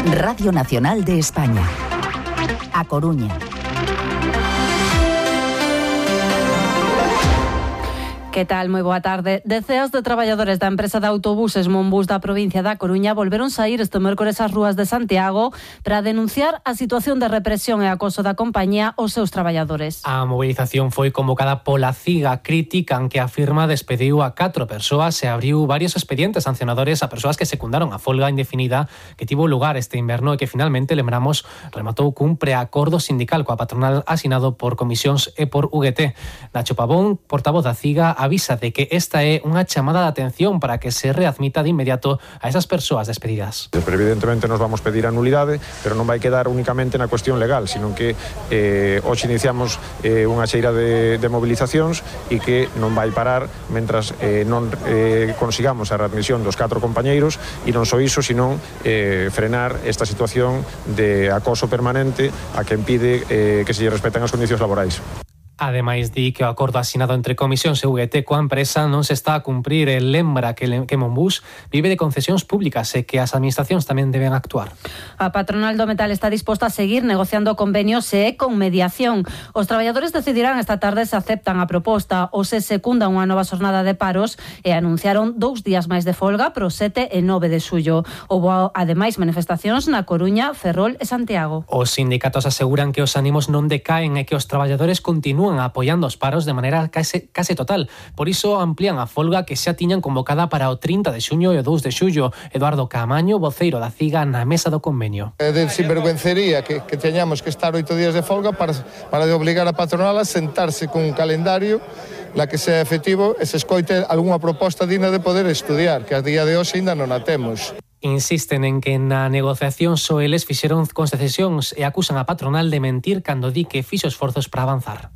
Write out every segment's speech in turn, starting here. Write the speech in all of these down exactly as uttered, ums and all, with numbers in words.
Radio Nacional de España. A Coruña. Que tal? Moi boa tarde. Deceas de traballadores da empresa de autobuses Monbus da provincia da Coruña volveron saír este mércores ás rúas de Santiago para denunciar a situación de represión e acoso da compañía aos seus traballadores. A movilización foi convocada pola CIGA. Critican que a firma despediu a catro persoas e abriu varios expedientes sancionadores a persoas que secundaron a folga indefinida que tivo lugar este inverno e que finalmente, lembramos, rematou cun preacordo sindical coa patronal asinado por comisións e por U G T. Nacho Pavón, portavoz da CIGA, avisa de que esta é unha chamada de atención para que se readmita de inmediato a esas persoas despedidas. Pero evidentemente nos vamos pedir a nulidade, pero non vai quedar únicamente na cuestión legal, sino que eh, hoxe iniciamos eh, unha xeira de, de movilizacións e que non vai parar mentras eh, non eh, consigamos a readmisión dos catro compañeiros e non só iso, sino eh, frenar esta situación de acoso permanente a que impide eh, que se lle respeten as condicións laborais. Ademais, di que o acordo asinado entre comisións e U G T coa empresa non se está a cumprir e lembra que, que Monbus vive de concesións públicas e que as administracións tamén deben actuar. A patronal do metal está disposta a seguir negociando convenios e con mediación. Os traballadores decidirán esta tarde se aceptan a proposta ou se secundan unha nova xornada de paros e anunciaron dous días máis de folga pro sete e nove de xullo. Houbo, ademais, manifestacións na Coruña, Ferrol e Santiago. Os sindicatos aseguran que os ánimos non decaen e que os traballadores continúan apoiando os paros de maneira case, case total. Por iso amplían a folga que xa tiñan convocada para o trinta de xuño e o dous de xullo. Eduardo Camaño, voceiro da CIGA, na mesa do convenio. É de sinvergüencería que, que teñamos que estar oito días de folga para, para de obligar a patronal a sentarse con un calendario la que sea efectivo e se escoite algunha proposta digna de poder estudiar, que a día de hoxe ainda non a temos. Insisten en que na negociación só eles fixeron concesións e acusan a patronal de mentir cando di que fixo esforzos para avanzar.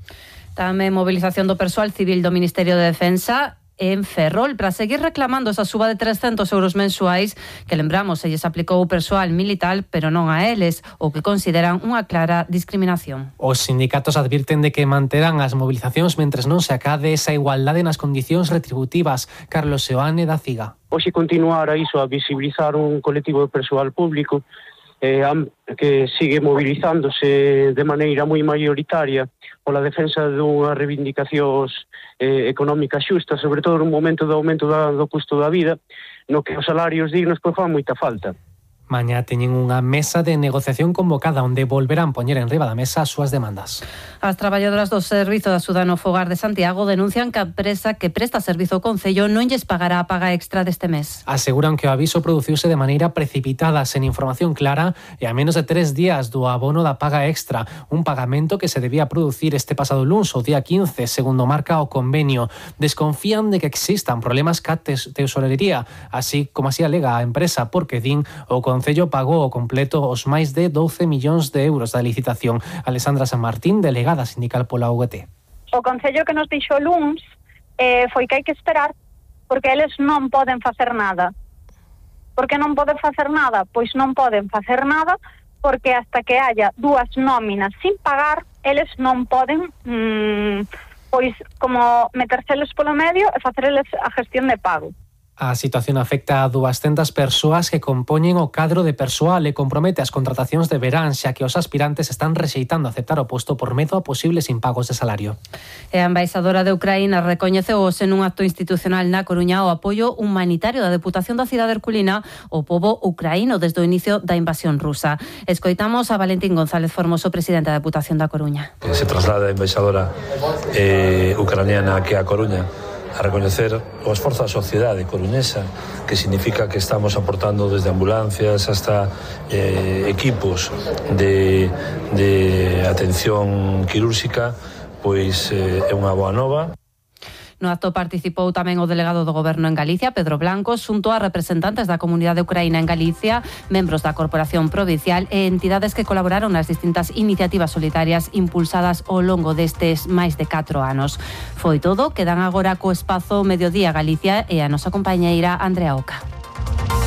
Tamén movilización do persoal civil do Ministerio de Defensa en Ferrol para seguir reclamando esa suba de trescentos euros mensuais que, lembramos, se lles aplicou o persoal militar, pero non a eles, o que consideran unha clara discriminación. Os sindicatos advirten de que manterán as movilizacións mentres non se acade esa igualdade nas condicións retributivas. Carlos Seoane, da CIGA. Hoxe continuar a iso, a visibilizar un colectivo de persoal público eh, que sigue movilizándose de maneira moi maioritaria pola defensa dunhas reivindicacións eh, económicas xustas, sobre todo nun momento do aumento da, do custo da vida, no que os salarios dignos pois fan moita falta. Mañá teñen unha mesa de negociación convocada onde volverán poñer en riba da mesa as súas demandas. As traballadoras do Servizo de Axuda no Fogar de Santiago denuncian que a empresa que presta servizo ao Concello non lles pagará a paga extra deste mes. Aseguran que o aviso produciuse de maneira precipitada, sen información clara e a menos de tres días do abono da paga extra, un pagamento que se debía producir este pasado luns, o día quince, segundo marca o convenio. Desconfían de que existan problemas ca tesorería, así como así alega a empresa, porque din o O Concello pagou o completo os máis de doce millóns de euros da licitación. Alexandra San Martín, delegada sindical pola U G T. O Concello que nos dixo luns eh, foi que hai que esperar porque eles non poden facer nada. Por que non poden facer nada? Pois non poden facer nada porque hasta que haya dúas nóminas sin pagar, eles non poden mmm, pois como meterseles polo medio e facerles a gestión de pago. A situación afecta a duascentas persoas que compoñen o cadro de persoal e compromete as contratacións de verán, xa que os aspirantes están rexeitando aceptar o posto por medo a posibles impagos de salario. E a embaixadora de Ucraína recoñeceu hoxe nun acto institucional na Coruña o apoio humanitario da Deputación da Cidade Herculina ao pobo ucraíno desde o inicio da invasión rusa. Escoitamos a Valentín González Formoso, presidente da Deputación da Coruña. Se traslada a embaixadora eh, ucraniana aquí a Coruña a recoñecer o esforzo da sociedade coruñesa, que significa que estamos aportando desde ambulancias hasta eh, equipos de, de atención quirúrxica, pois eh, é unha boa nova. No acto participou tamén o delegado do Goberno en Galicia, Pedro Blanco, xunto a representantes da comunidade ucraína en Galicia, membros da Corporación Provincial e entidades que colaboraron nas distintas iniciativas solidarias impulsadas ao longo destes máis de catro anos. Foi todo, quedan agora co espazo Mediodía Galicia e a nosa compañeira Andrea Oca.